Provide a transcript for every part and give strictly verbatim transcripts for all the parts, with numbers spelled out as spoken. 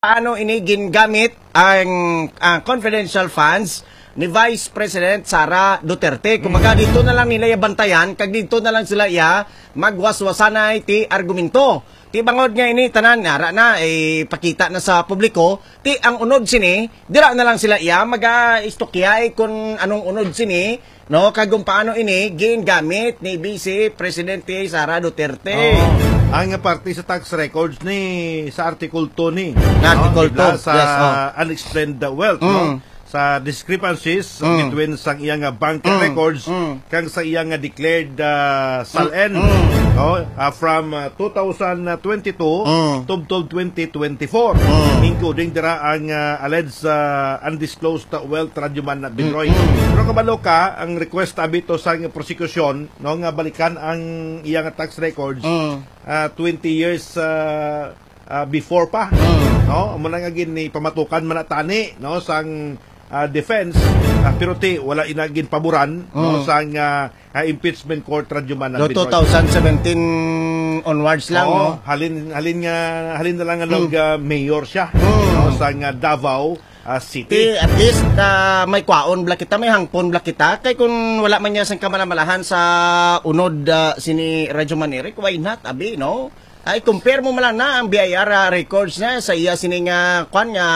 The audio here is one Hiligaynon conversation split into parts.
paano ini gingamit ang, ang confidential funds ni Vice President Sara Duterte. Kumbaga, dito na lang nila iya bantayan, kag dito na lang sila iya magwaswasanay ti argumento. Ti bangod nga ini tanan, ara na, eh, pakita na sa publiko, ti ang unod sini, dira na lang sila iya mag-istokyay kung anong unod sini, no? Kag kung paano ini gingamit ni Vice Presidente Sara Duterte. Oo. Ang parte sa tax records ni, sa Article two ni, Nga no? Article Bigla two, sa yes, oh. Unexplained wealth, no? Mm. Sa discrepancies Mm. between sang iya nga bank Mm. records Mm. kang sa iya nga declared, ah, SALN, Mm. Mm. no? Ah, from, ah, two thousand twenty-two Mm. tubtob twenty twenty-four, Mm. including dira ang, ah, alleged, ah, undisclosed wealth, Radyo Man Bidroy. Mm. Pero kabalo ka, ang request abi to sang prosecution, no, nga balikan ang iya nga tax records, Mm. ah, twenty years, ah, ah, before pa, Mm. no? Amo na nga gin-, ipamatukan man na tani, no, sang, ah, defense, ah, pero ti wala ina ginpaboran, no, Mm. sang, ah, ah, impeachment court, Radyo Man Do Bidroy. two thousand seventeen onwards lang, Oo, no? halin, halin nga, halin na lang nga Mm. nag, ah, mayor siya, Mm. no, sang, ah, Davao, ah, City. Ti, at least, ah, may kwaon bala kita, may hangpon bala kita. Kay kung wala man niya sang kamalamalahan sa unod, ah, sini Radyo Man Eric, why not, abi, no? Ay, compare mo man lang na ang B I R, ah, records na sa iya sini nga, kwan nga,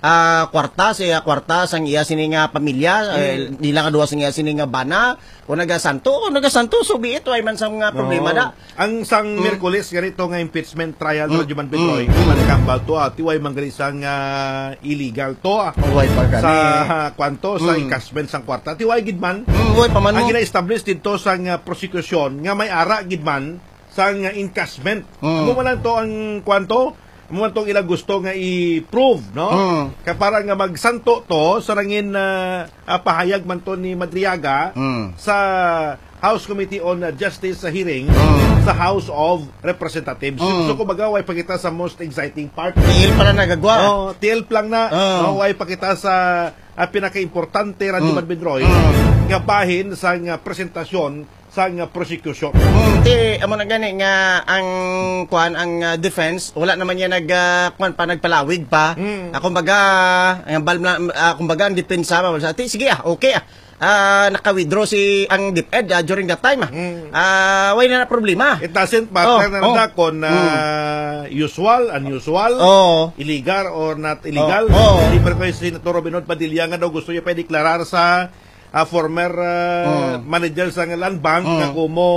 ah, kwarta, sa iya kwarta, sang iya sini nga pamilya, eh, Mm. di lang duha sang iya sini nga bana, o nagasanto, o nagasanto, so be it, why man sa mga problema Oo. da. Ang sang Mm. Miyerkules, ganito nga impeachment trial, Mm. Radyo Man Bidroy, Mm. di man nagambal to, ah, ti why man gali sang, ah, illegal to, ah. Why pa gani? Sa, ah, kwanto, sa Mm. encashment sang kwarta, ti why gid man. Mm, why pa man Ang mo? gina-establish dito sang, ah, prosecution nga may ara gid man sang, ah, encashment. Mm. Amo man lang to ang kwanto, amo man tong ila gusto nga i-prove, no? Mm. Kay para nga magsanto to sa nangin, ah, ah, pahayag man to ni Madriaga Mm. sa House Committee on, ah, Justice sa hearing Mm. sa House of Representatives. Mm. So, kumbaga, way pa kita sa most exciting part. Tiil pa lang nagagwa. Oh, tiil pa lang na. Oh. No, way pa kita sa, ah, pinakaimportante, Radyo Mm. Man Bidroy, Mm. nga bahin sa nga presentasyon sa nga prosecution. Mm, ti, amo na gani nga ang, kuan, ang, ah, defense, wala naman niya nag, ah, kuan pa, nagpalawig pa. Mm. Ah, kumbaga, ang bal-, ah, kumbaga, ang depensa ba, sa, ti, sige, ah, okay, ah. Ah, naka-withdraw si, ang DepEd, ah, during that time, ah. Mm. Ah, wala na problema. It doesn't matter Oh, na oh. nanda kung, ah, Mm. usual, unusual, Oh. illegal or not illegal. Oh, oh. Hindi pa rin kayo si Senator Robinhood Padilla nga daw gusto niya pa i-deklarar sa, ah, former, ah, Mm. manager sa Land Bank Mm. nga kumo,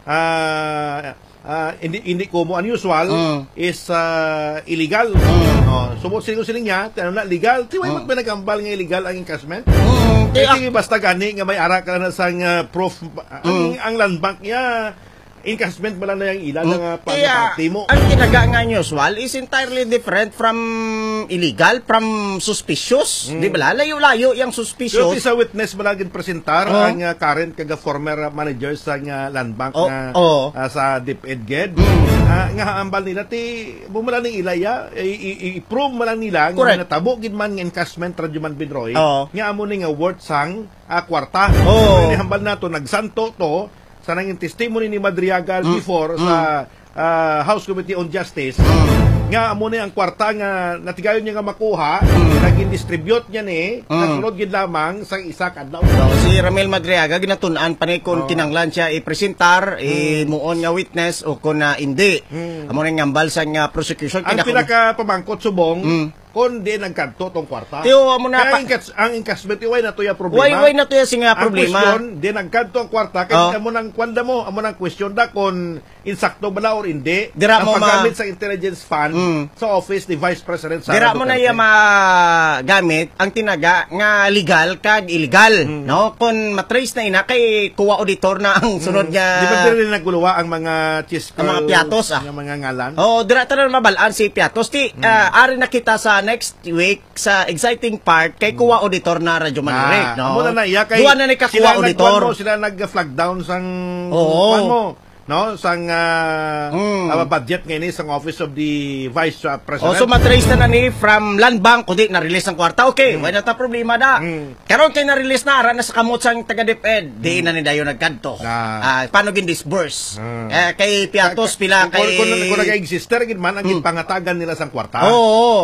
ah, ah, hindi, hindi kumo unusual Mm. is, ah, illegal. Mm. Oh, so, mo siling, siling niya, ti ano na, legal? Ti, why Mm. mo pinagambal nga illegal ang encashment? Mm, Eh, kaya ti, basta gani nga may ara ka na sang, ah, proof, ang, Mm. ang Land Bank niya, encashment ba lang na yung ila Mm. nga Kaya, pagkakatimo? ang tinaga nga unusual is entirely different from illegal, from suspicious. Mm. Di ba? Layo-layo yung Pero suspicious. ti sa witness ba lang presentar Oh. ang, ah, current kag former manager sa nga Land Bank Oh, nga, oh. ah, sa DepEd gid? Mm. Ah, nga ambal nila, ti, bumala ning ila ya, i, i, i, i-prove mo lang nila nga Correct. natabo gid man nga encashment, Radyo Man Bidroy, Oo. nga amo ni nga worth sang, ah, kwarta. Oo. Pero inihambal nato, nagsanto to, sa nangin testimony ni Madriaga Mm. before Mm. sa, ah, House Committee on Justice, Mm. nga amo ni ang kwarta nga natigayon niya nga makuha, Mm. naging distribute niya ni, Mm. nasunod gid lamang sa isa ka adlaw. So, si Ramil Madriaga, ginatun-an pa ni kung Oo. kinanglan siya i-presentar, Mm. imuon nga witness o kung, ah, hindi. Mm. Amo ni ang ambal sa nga prosecution. Ang Kaya kung pinakapamangkot subong, Mm. kon di nagkadto tong kwarta. Tiyo, amo na Kaya pa. ang encash-, ang encashment, iway na to ya problema. Way, way na to ya sing, ah, Ang problema. question, di nagkadto ang kwarta, kay Oh. amo nang kwanda mo, amo nang question da kon insakto bala or hindi Dira ang mo ma- paggamit sa intelligence fund Mm. sa office ni Vice President Sara Dira mo na Duterte. iya magamit ang tinaga nga legal kag illegal, Mm. no? Kon matrace na ina kay kuha auditor na ang sunod Mm. nga Di ba diri naguluwa ang mga Chisco Ang mga Piatos, ah. nga mga ngalan? Oo, dira ta na mabal-an si Piatos. Ti, Mm. ah, ari na kita sa next week sa exciting part kay Mm. kuha auditor na Radyo Man Ah, Eric, no? amo na na iya kay Duwa na ni ka sila kuha nagkuan auditor. mo, sila nag-flag down sang Oo. kuan mo. no, sang ah, Mm. ah, budget nga ini sang Office of the Vice ah, O, President. so matrace na na ni from Land Bank, kundi na-release ang kwarta. Okay, wala na ta problema na. Mm. Karon kay na-release na, ara na sa kamot sang taga DepEd. Di na ni dayon nagkadto. Ah. Ah, paano gin-disburse? Ah. Eh, kay Piatos, pila Kung, kay... kung, kung nag-exist, gid man ang Hmm. gipangatagan nila sang kwarta. Oo.